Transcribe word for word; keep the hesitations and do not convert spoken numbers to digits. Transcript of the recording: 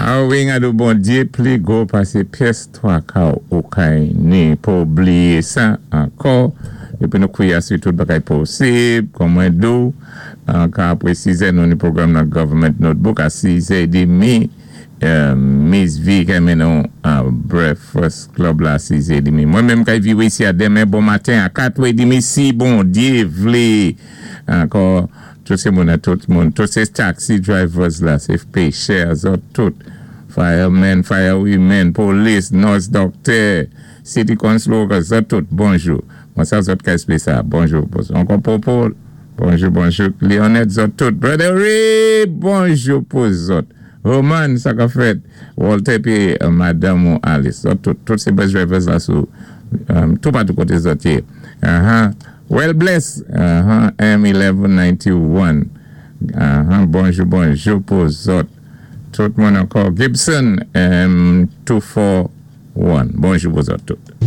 Awi, gado Bondyé pli gwo pasé pyès twaka ou kay ni pa bliyé sa ankò. Épi nou kwiyé asou tout bagay posib, kòm mwen di-ou, ka apwé sizè nou ni pwogram nan Government Notebook a sizè édmi, Miss V kay mennen nou Breakfast Club la sizè édmi. Mwen menm kay viwé isi a denmen bon maten a katwè édmi si Bondyé vlé. Ankò, tout sé moun tout moun, tout sé taxi drivers la, sé péchè, zòt tout, firemen, firewomen, police, nurse, doctor, city council workers, zòt tout, bonjou. Mwen sa zòt ka esplé sa, bonjou. Ankò Popo, bonjou, bonjou. Leonette, zòt tout. Brother Ray, bonjou pou zòt. Roman, sa ka fèt. Walter pi Madame ou Alice, zòt tout. Tout sé bus drivers la sou, tout patou koté zòt yé. Well bless, M eleven ninety-one. Bonjou, bonjou pou zòt. Tout moun ankò. Gibson, M two four one. Bonjou pou zòt tout.